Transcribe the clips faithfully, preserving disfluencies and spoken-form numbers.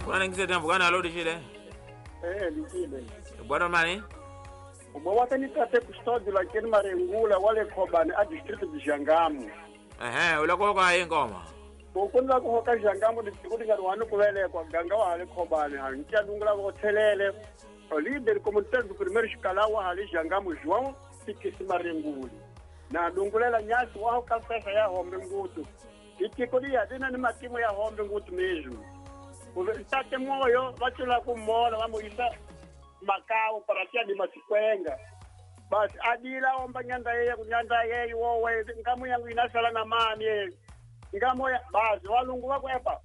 Kuna ningisete mvukana alo dishile. Eh dishile. Bwana mani? Ubawata ni tate custódio la keni Marengula wale Khobane a distrito de Jangamu. Ehe, ulako ka ingoma. Ukunda ku hoka Jangamu distrito ngari wanu kuvelekwa ganga wa le Khobane ha ntia dungula go thelele. O líder comunitário do primeiro escalão wa hali Jangamu João Tikisi Marengula. Na dungulela nyasi wa hoka pesa ya hombe ngutu. Itikolia dina ni matimu ya hombe ngutu mesmo. Tate moyo vachula kumona vamuisa Macau para tia de Masikwenga. Basi adila omba nyanda yeye kunyanda yeye wowe ngamu yangu inasala na mani ngamu ya basi walungu wako epa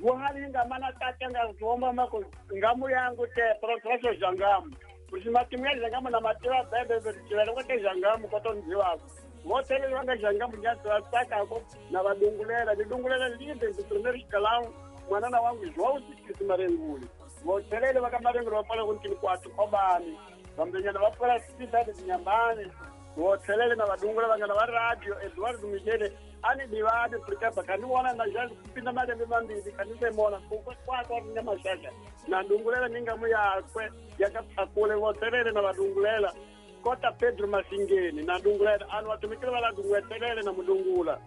guhali ngamana tate ngaomba mako ngamu yangu te processo jangamu kusimatimu ya jangamu na matira bebe bebe kwa jangamu koto wako wote ile wanga jangamu nyasa saka ko na badungulela didungulela linde do primeiro escalão mwanana wangu João Tikisi Marenguli votelele vakamarenguli vapala kuntini kwatu Khobane vambenyana vapala cidade de Nyambane votelele na vadungula vangana va radio Eduardo Michele ani divade porque bakaniwana na jazi kupinda malembe mambili kanisemona kwakwa na mashasha na dungulela ningamu yakwe yakakule votelele na vadungulela Kota Pedro Masingeni na dungulela anu watumikile vala dunguetelele na mudungula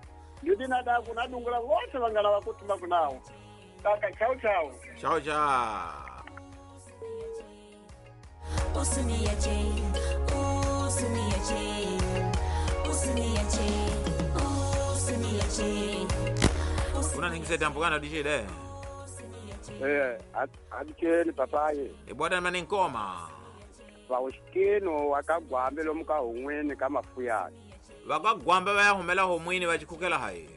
ndidina daku na dungula vote vangana vakutuma kunawo. Kaka, tchau, tchau. Tchau, tchau. Una ningisete mpukana dishile? Eh, adikeni papai. E bwana mani nkoma. Vaushikino wakagwambe lomuka humwini kama fuyani. Vakagwambe vaya humela humwini vachikukela hayi.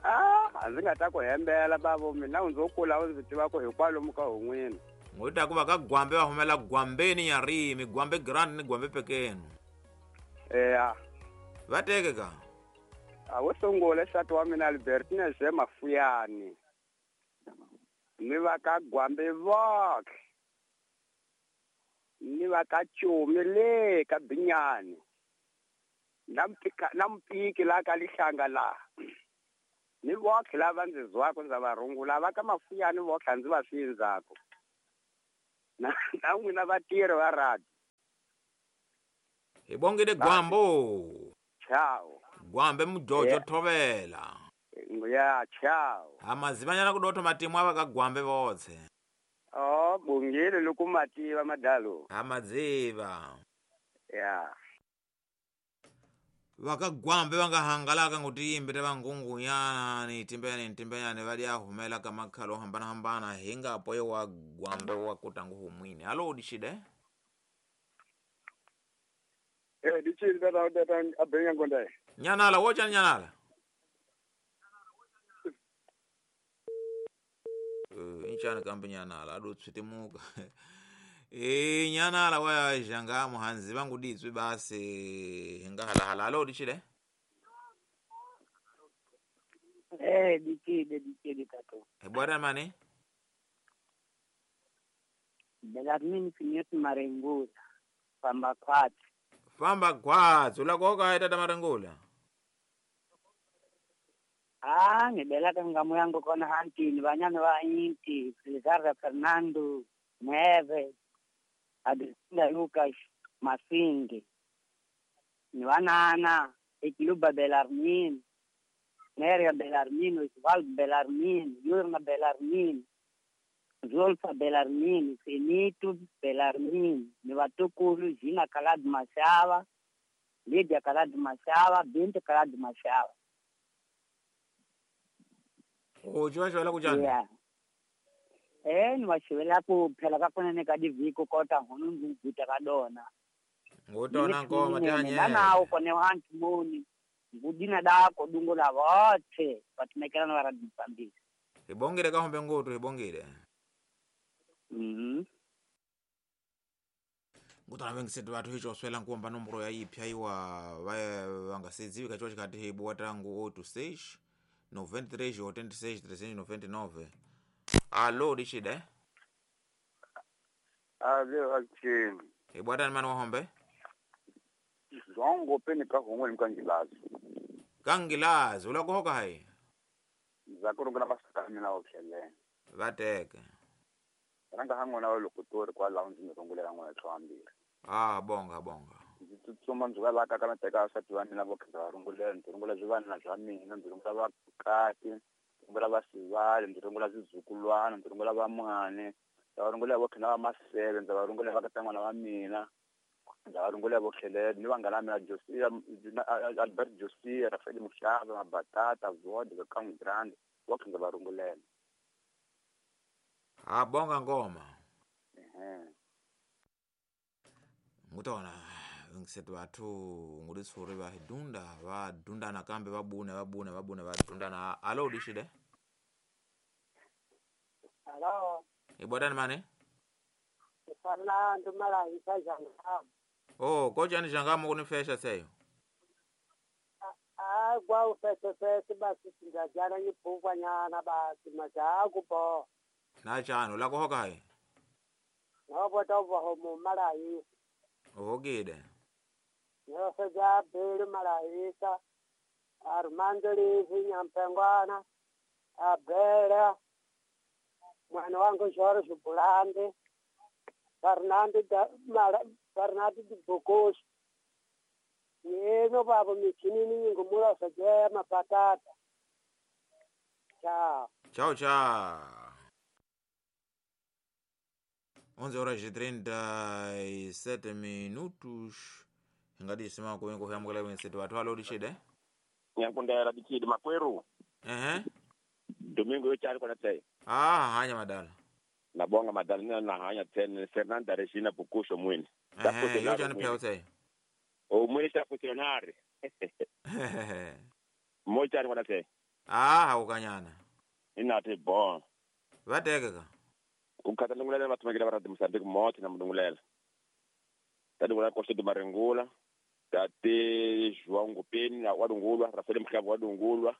Ah, azinga kuhembela babo mina unzokula unzitiwa ko hikwalomu ka humwini. Ngota kuva ka gwambe va humela gwambeni ya rimi, gwambe grand ni gwambe pekenu. Eh. Vateke ka. A wo sungula nsati wa mina Albertina ze Mafuyani. Ni va ka gwambe vok. Ni va ka Chumi le ka Binyani. Na mpika na mpiki la ka lihlanga la. Ni vokhe lava ndzi zwako ndza varungula va ka Mafuyani vokhe ndzi va sindzako. Na na n'wina vatirhi va radio. Hi bongile gwambo. Ciao. Gwambe mujojo thovela. Ya ciao. Amazivanyana kudotho matimu ava ka gwambe votse. Oh, bongile loko mativa madalo. Amadziva. Ya. Vakagwambe vangahangalaka ngutiyimbi ta vangungunyana ni timbeyani timbeyani va dia humela ka makhalo hambana hambana hinga poyo wa gwambe wa kutangu humwini. Alo dishide? Eh dishide tata tata abenya ngondae. Nyanala wocha nyanala. Eh inchana kambe nyanala ado tswitimuka. E nyanala wa janga muhanzi vangu ditswe basi hinga hala hala alo dishile. Eh dikide dikide tato. E bwana mani? Belarmini Finyot Marengula famba kwatsi. Famba kwatsi ulakoka tata Marengula. Ah ngibelaka ngamu yangu kona hantini banyana wa inti Felizardo Fernando Neve Adriana Lucas Masinge ni wanana Ekiluba Belarmin Neria Belarmin Osvaldo Belarmin Yurna Belarmin Zolfa Belarmin Finito Belarmin ni watukulu Gina Kalad Mashava Lydia Kalad Mashava Binti Kalad Mashava. O jiwa jiwa la kujana. Yeah. Eh ni washivela ku phela ka kunene ka diviko kota hunu nguguta ka dona. Ngotona ngoma tanye. Nana uko ne hantu moni. Ngudina dako dungo la vote vatumekelana va radio Mozambique. Ibongile ka hombe ngoto ibongile. Mhm. Ngotona vengisetu vathu hicho swela nkuomba nomboro ya ipya iwa vangasedziwi kacho chikati hibu watangu oh two six noventa e três oitenta e seis trezentos e noventa e nove. Alô, dishide? Alo, akini. Ibwatani mani wahombe? Zongo peni ka hongwe mkangilazi. Kangilazi, ulakuhoka hai? Ndza ku rungula masaka ya mina wo tlhelela. Va teke. Ranga ha n'wina wa loko tori kwalaho ndzi mi rungulela n'wina tlhambirhi. Ah, bonga bonga. Ndzi tsutsuma ndzi va la ka ka na teka vasati va mina vo khe va rungulela, ndzi rungula swivanana swa mina, ndzi rungula vakati, ndzi rungula vasivali, ndzi rungula swizukulwana, ndzi rungula vamane, ndza va rungula vo khe na va maseve, ndza va rungula vakatan'wana va mina, ndza va rungula vo tlhelela ni vanghana va mina Josia, Albert Josia, Rafael Muxava, Mabatata, Vod, Kang Grande, vo khe ndza va rungulela. Ah, bonga ngoma. Ehe. Ngutona ngisetu bathu ngudisuri va dunda va dunda nakambe va bune va bune va bune va dunda na alo dishide. Alo. Ibodani mane? Fernando Malaisa Jangam. Oh, koja ni Jangam kunifesha seyo. Ah, kwa ufese fese basi singajana ngipukwa nyana basi majaku bo. Na chano la kuhoka hai. Nobo tobo homo Malaisa. Uhogide. Nyoseja Beli Malaisa, Armando Lizi Nyampengwana, Abela, mwana wangu George Bulande, Fernando da Mara, Fernando de Bocos. Yeno babo michinini ngumula saje mapatata. Ciao. Ciao ciao. onze horas e trinta e sete minutos. Ngadi sima ko ngo hamgala wensetu watu alo dishide. Nyankundela dikidi makweru. Eh. Domingo yo chali kona tei. Ah, hanya madala. Nabonga madala nina na hanya ten Fernanda Regina Bukusho mwini. Eh, yo jani peo tei. O mwini cha funcionari. Mo chali kona tei. Ah, haukanyana. Ina te bon. Vateke ka. Ukhatha ndungulela vatumekela va radio Mozambique moti na mundungulela. Tadungula Costa de Marengula, tate João Ngupeni na wadungulwa, Rafael Mhlaba wadungulwa.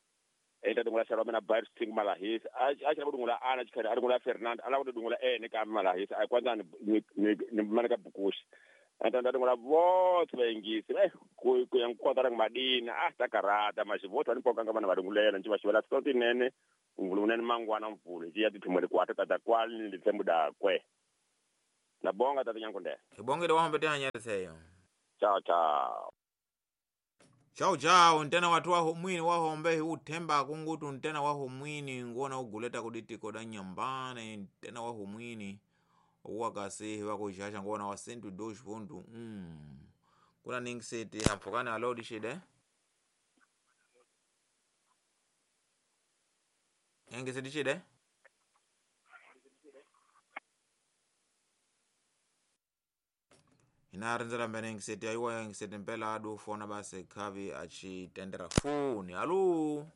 Enta dungula Sharoma na Bair Singh Malahisa. A a dungula ana chikhala adungula Fernando, ala dungula ene ka Malahisa. A kwanza ni ni manaka bukushi. Enta dungula votse vaingisi. Eh ku ku yankwata ra madina, a ta karata mashivoto ani poka ngama na vadungulela nje vashivela sotinene. Mvulu mangwana mvulu ya tithumele kwata tata kwali nditsembuda kwe. Nabonga tata Nyankundela. Ibongile wahambe tihanya seyo. Ciao ciao. Ciao ciao ntena watu waho mwini wahombe uthemba kungutu ntena waho mwini ngona uguleta kuditiko da nyambane ntena waho mwini wakasi wakushasha ngona wa sentu dosh ponto um. Kuna ningiseti hamfukana alo dishide. Engesedi chide? Ina rinzela mbene engesedi aiwa engesedi mpela adu fona base kavi achitendera foni. Alo.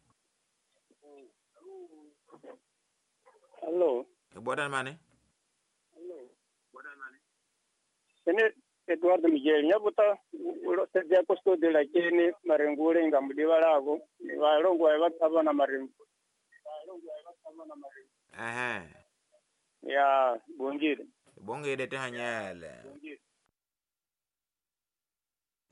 Alo. Ibodani mane? Ene Eduardo Miguel nyabuta uloseja kosto de la kene marengule ngamudiwalako valongwa vatsava na marengu. Ehe. Ya bongile. Bongile tehanyele.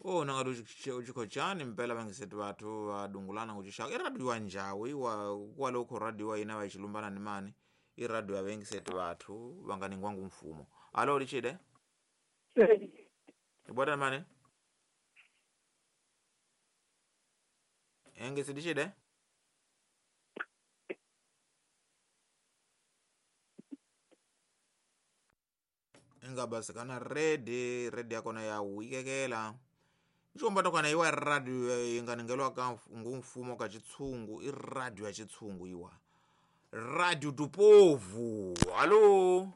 Oh nangadu uchikochani mpela vangisetu watu vadungulana kuchishaka iradio wa njawi wa kwalokho radio ina vachilumbana ni mani iradio ya vengisetu watu vanganingwangu mfumo. Alo lichide? Ibwata mane? Engesedichide? Ingabasi kana redi redi yakona ya wikekela nchomba tokana iwa radio inganingelwa ka ngumfumo ka chitsungu i radio ya chitsungu iwa radio do povo. Allo.